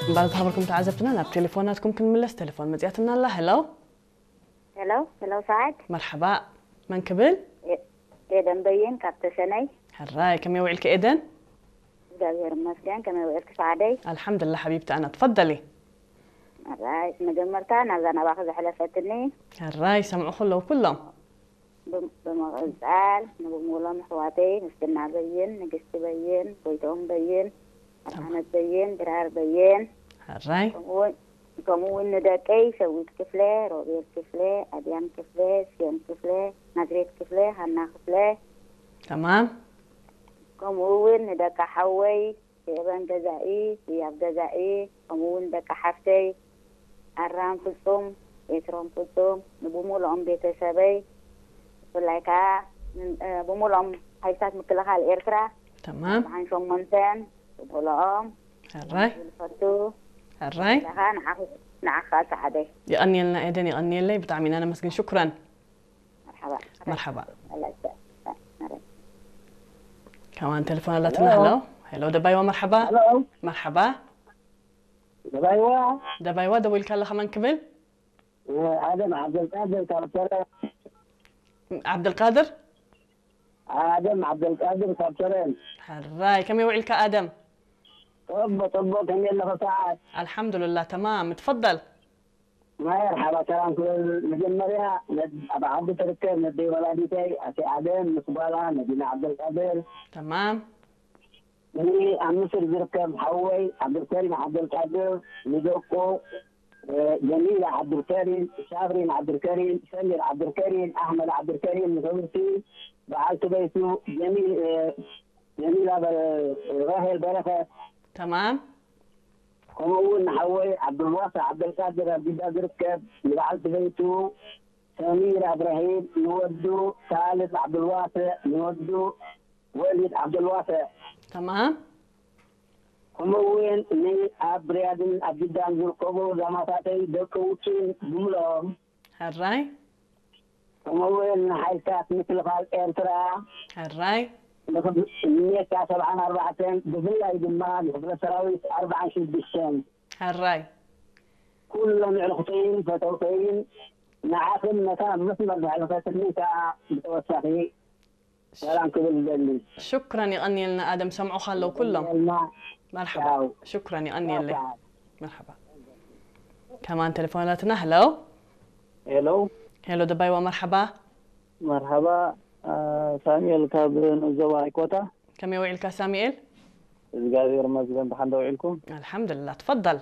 እምበር ዝሃበልኩም ተዓዘብትና ናብ ቴሌፎናትኩም ክንምለስ። ቴሌፎን መጽያትና ኣላ። ሄሎ። ሄሎ ሄሎ፣ ሰዓት መርሓባ። መን ክብል? ኤደን በይን ካብ ተሰነይ። ሕራይ፣ ከመይ ውዒልኪ ኤደን? እግዚኣብሔር ይመስገን። ከመይ ውዒልኪ ሰዓደይ? ኣልሓምዱላ ሓቢብቲ ኣና፣ ትፈደሊ። ሕራይ፣ መጀመርታ ናብዛ ናባኺ ዘሕለፈትኒ ሕራይ፣ ሰምዑ ከለዉ ኩሎም። ብም- ብምቕጻል ንብሙሎም ኣሕዋተይ ምስግና በይን፣ ንግስቲ በይን፣ ጎይትኦም በይን፣ ኣድሓነት በይን፣ ድራር በይን፣ ሕራይ፣ ከምኡውን ከምኡውን ንደቀይ ሸዊት ክፍለ፣ ሮቤል ክፍለ፣ ኣድያም ክፍለ፣ ስዮን ክፍለ፣ ናዝሬት ክፍለ፣ ሃና ክፍለ፣ ተማም። ከምኡ እውን ንደቂ ሓወይ ኤበን ገዛኢ፣ ህያብ ገዛኢ፣ ከምኡ እውን ደቂ ሓፍተይ ኣራም ፍጹም፣ ኤስሮም ፍጹም፣ ንብሙሉኦም ቤተሰበይ፣ ብፍላይ ከዓ ን- እ፣ ብሙሉኦም ሓይልታት ምክልኻል ኤርትራ ተማም። ብሓን ሸሞንተን ብሙሉኦም ሕራይ፣ ዝፈቱ ሕራይ። ለኻ ንዓኽ- ንዓኻ ሰዓደይ። የቐንየልና ኤደን፣ የቐንየለይ። ብጣዕሚ ኢና ነመስግን። ሽኩረን። መርሓባ መርሓባ። ኣለሰ ከማን ቴሌፎን ኣላትና። ሄሎ። ሄሎ ደባይዋ፣ መርሓባ። ሄሎ። መርሓባ። ደባይዋ። ደባይዋ፣ ደዊልካ ኣለኻ፣ መን ክብል? ኣደም ዓብደልቃድር ካብ ሰረ። ዓብደልቃድር። ኣደም ዓብደልቃድር ካብ ሰረ። ሕራይ፣ ከመይ ውዒልካ ኣደም? ጠቦ ጠቦ፣ ከመይ ኣለኸ ሰዓት? ኣልሓምዱልላ፣ ተማም። ትፈደል። መርሓባ፣ ሰላም ክብል። መጀመርያ ነድ- ኣብ ዓዲ ትርከብ ነደይ ወላዲተይ ኣቲ ኣደም ምስ ጓላ መዲና ዓብደልቃድር፣ ተማም። ንኣብ ምስር ዝርከብ ሓወይ ዓብዱልከሪም ዓብደልቃድር፣ ንደቁ እ፣ ጀሚላ ዓብዱልከሪም፣ ሳብሪን ዓብዱልከሪም፣ ሰሚር ዓብዱልከሪም፣ ኣሕመድ ዓብዱልከሪም፣ ንክብርቲ በዓልቲ ቤቱ ጀሚ- እ፣ ጀሚላ በረ- ራሄል በረኸት፣ ተማም። ከምኡ እውን ንሓወይ ዓብዱልዋስዕ ዓብደልቃድር ኣብ ጅዳ ዝርከብ ንበዓልቲ ቤቱ ሰሚር እብራሂም፣ ንወዱ ካልድ ዓብዱልዋስዕ፣ ንወዱ ወሊድ ዓብዱልዋስዕ፣ ተማም። ከምኡ እውን ንኣብ ሪያድን ኣብ ጅዳን ዝርከቡ ዛማታተይ ደቂ ውጭን ብምልኦም፣ ሕራይ፣ ከምኡ እውን ንሓይልታት ምክልኻል ኤርትራ ሕራይ። ንክብ- ንሜካ ሰብዓን ኣርባዕተን፣ ብፍላይ ድማ ንክፍለ ሰራዊት ኣርባዓን ሽዱሽተን፣ ሕራይ። ኩሎም ኣዕሩኽተይን ፈተውተይን፣ ንዓኽን ነታ መስመር ዘሕለፈትኒ ከዓ ብተወሳኺ ሰላም ክብል ዝደሊ። ሽኩረን፣ የቐንየልና ኣደም። ሰምዑኻ ኣለዉ ኩሎም። የቐንየልና። መርሓባ። ቻው። ሽኩረን፣ የቐንየለይ። ቻው። መርሓባ። ከማን ቴሌፎናትና። ሄሎ። ሄሎ። ሄሎ ደባይዋ፣ መርሓባ። መርሓባ። አ፣ ሳሙኤል ካብ ንዞባ ኣይኮታ። ከመይ ውዒልካ ሳሙኤል? እግዚኣብሔር ይመስገን፣ ብሓንዳ ውዒልኩም? ኣልሓምዱልላ። ትፈደል።